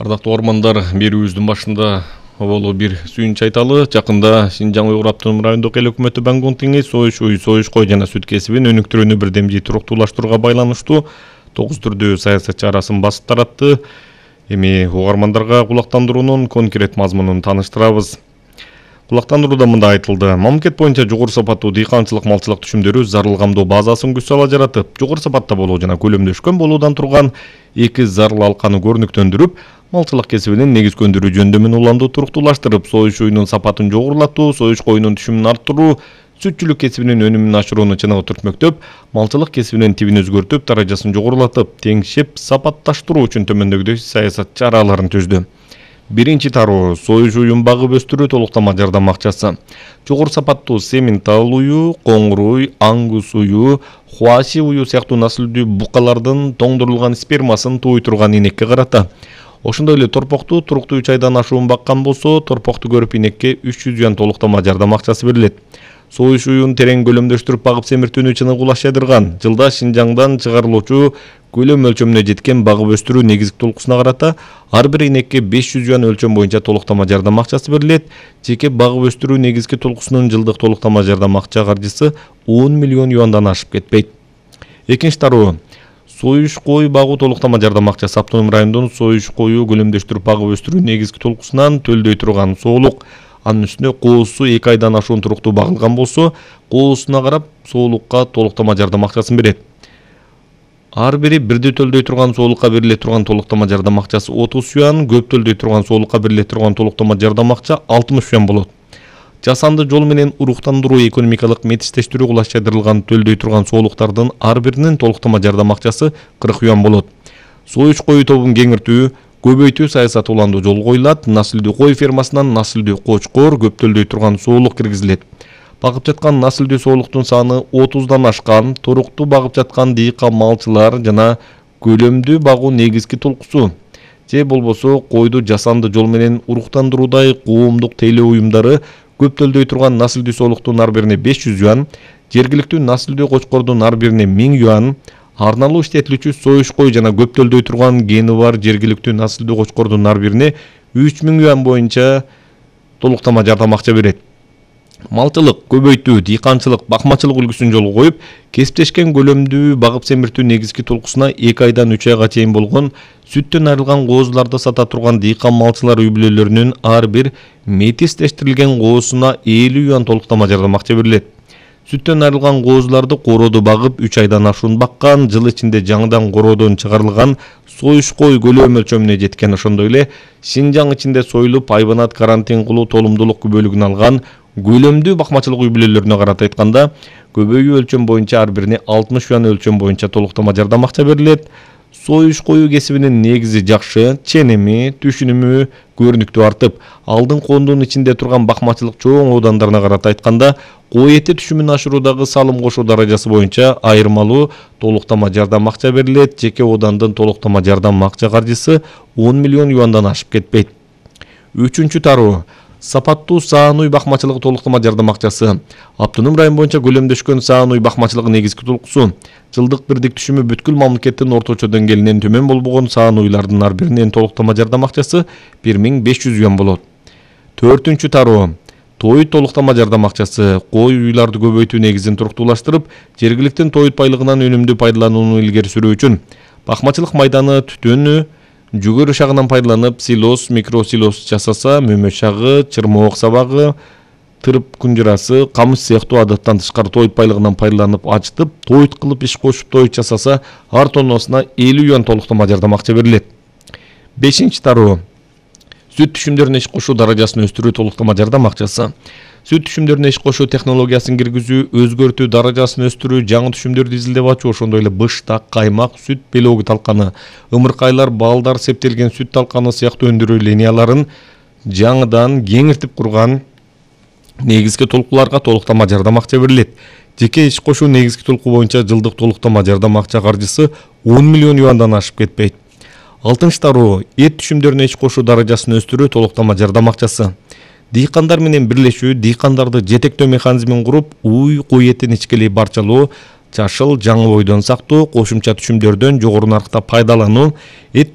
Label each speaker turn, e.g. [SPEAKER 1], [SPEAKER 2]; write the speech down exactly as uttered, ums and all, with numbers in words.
[SPEAKER 1] Ардактуу ормандар, берүүбүздүн башында оболу бир сүйүнч айталы. Жакында Шинжаң Уйгур автоном райондук эл өкмөтү Бангунтиңи союш уй, союш кой жана сүт кесибин өнүктүрүүнү бирдемжий туруктуулаштырууга байланыштуу тогуз түрдүү саясат чарасын басып таратты. Эми угармандарга кулактандыруунун конкрет мазмунун тааныштырабыз. Кулактандырууда мындай айтылды. Мамлекет боюнча жогору сапаттуу дыйканчылык малчылык түшүмдөрү зарыл камдоо базасын күч сала жаратып, жогору сапатта болуу жана көлөмдөшкөн болуудан турган эки зарыл алканы көрүнүктөндүрүп, малчылык кесибинин негизги өндүрүү жөндөмүн уламдуу туруктуулаштырып, союш уйунун сапатын жогорулатуу, союш коюнун түшүмүн арттыруу, сүтчүлүк кесибинин өнүмүн ашырууну чыныгы түртмөктөп, малчылык кесибинин тибин өзгөртүп, даражасын жогорулатып, теңшеп сапатташтыруу үчүн төмөндөгүдөй саясат чараларын түздү. Биринчи тароо союш уюн багып өстүрүү толуктама жардам акчасы. Жогору сапаттуу сементал ую, коңур уй, аңгус ую, хуаши ую сыяктуу насылдүү букалардын тоңдурулган спермасын тууй турган инекке карата. Ошондой эле торпокту туруктуу үч айдан ашуун баккан болсо, торпокту көрүп инекке үч жүз юан толуктама жардам акчасы берилет. Союш уюн терең көлөмдөштүрүп багып семиртүүнү чыныгуулаш жайдырган. Жылда Шинжаңдан чыгарылуучу көлөм өлчөмүнө жеткен багып өстүрүү негизги толкусуна карата ар бир инекке беш жүз юан өлчөм боюнча толуктама жардам акчасы берилет. Жеке багып өстүрүү негизги толкусунун жылдык толуктама жардам акча каржысы он миллион юандан ашып кетпейт. Экинчи тароо союш кой багуу толуктама жардам акчасы. Автоном райондун союш кою көлөмдөштүрүп багып өстүрүү негизги толкусунан төлдөй турган соолук. Анын үстүнө коосу эки айдан ашуун туруктуу багылган болсо, коосуна карап соолукка толуктама жардам акчасын берет. Ар бири бирдей төлдөй турган соолукка бериле турган толуктама жардам акчасы отуз юан, көп төлдөй турган соолукка бериле турган толуктама жардам акча алтымыш юан болот. Жасанды жол менен уруктандыруу экономикалык метиштештирүү кылаш жайдырылган төлдөй турган соолуктардын ар биринин толуктама жардам акчасы кырк юан болот. Союш кою тобун кеңиртүү, көбөйтүү саясаты уланды жол коюлат. Насылдүү кой фермасынан насылдүү кочкор, көп төлдөй турган соолук киргизилет. Багып жаткан насылдүү соолуктун саны отуздан ашкан, туруктуу багып жаткан дыйкан малчылар жана көлөмдүү багуу негизги толкусу. Же болбосо койду жасанды жол менен уруктандыруудай коомдук тейлөө уюмдары көп төлдөй турган насылдүү соолуктун ар бирине беш жүз юан, жергиликтүү насылдүү кочкордун ар бирине миң юан, арналуу иштетилүүчү союш кой жана көп төлдөй турган гени бар жергиликтүү насылдуу кочкордун ар бирине үч миң юан боюнча толуктама жардам акча берет. Малчылык, көбөйтүү, дыйканчылык, бакмачылык үлгүсүн жолго коюп, кесиптешкен көлөмдүү багып семиртүү негизги толкусуна эки айдан үч айга чейин болгон сүттөн айрылган коозуларды сата турган дыйкан малчылар үй бүлөлөрүнүн ар бир метистештирилген коосуна элүү юан толуктама жардам акча берилет. Сүттөн айрылган коозуларды корооду багып үч айдан ашуун баккан, жыл ичинде жаңыдан короодон чыгарылган союш кой көлөм өлчөмүнө жеткен. Ошондой эле Шинжаң ичинде союлуп айбанат карантин кылуу тоолумдуулук күбөлүгүн алган көлөмдүү бакмачылык үй бүлөлөрүнө карата айтканда, көбөйүү өлчөм боюнча ар бирине алтымыш юан өлчөм боюнча толуктама жардам акча берилет. Союш кою кесибинин негизи жакшы, ченеми, түшүнүмү көрүнүктүү артып, алдын коомдун ичинде турган бакмачылык чоң оодандарына карата айтканда, кой эти түшүмүн ашыруудагы салым кошуу даражасы боюнча айырмалуу толуктама жардам акча берилет. Жеке оодандын толуктама жардам акча каржысы он миллион юандан ашып кетпейт. Үчүнчү тароо сапаттуу саан уй бакмачылык толуктама жардам акчасы. Автоном район боюнча көлөмдөшкөн саан уй бакмачылыгы негизги толкусу. Жылдык бирдик түшүмү бүткүл мамлекеттин орточо деңгээлинен төмөн болбогон саан уйлардын ар биринин толуктама жардам акчасы бир миң беш жүз юан болот. Төртүнчү тароо той толуктама жардам акчасы. Кой уйларды көбөйтүү негизин туруктуулаштырып, жергиликтин той байлыгынан өнүмдүү пайдаланууну илгери сүрүү үчүн бакмачылык майданы, түтүнү, жүгөрү шагынан пайдаланып, силос, микросилос жасаса, мөмө шагы, чырмоок сабагы, тырып күнжырасы, камыш сыяктуу адаттан тышкары той байлыгынан пайдаланып ачтып, той кылып иш кошуп той жасаса, ар тонносуна элүү юан толуктама жардам акча берилет. Бешинчи тароо сүт түшүмдөрүнө иш кошуу даражасын өстүрүү толуктама жардам акчасы. Сүт түшүмдөрүнө иш кошуу технологиясын киргизүү, өзгөртүү даражасын өстүрүү, жаңы түшүмдөрдү изилдеп ачуу, ошондой эле быштак, каймак, сүт белоги талканы, ымыркайлар, балдар, септелген сүт талканы сыяктуу өндүрүү линияларын жаңыдан кеңиртип курган негизги толкуларга толуктама жардам акча берилет. Жеке иш кошуу негизги толку боюнча жылдык толуктама жардам акча каржысы он миллион юандан ашып кетпейт. Алтынчы тароо эт түшүмдөрүнө иш кошуу даражасын өстүрүү толуктама жардам акчасы. Дыйкандар менен бирлешүү, дыйкандарды жетектөө механизмин куруп, уй, кой этин ичкелей барчалоо, жашыл жаңы бойдон сактоо, кошумча түшүмдөрдөн жогору наркта пайдалануу, эт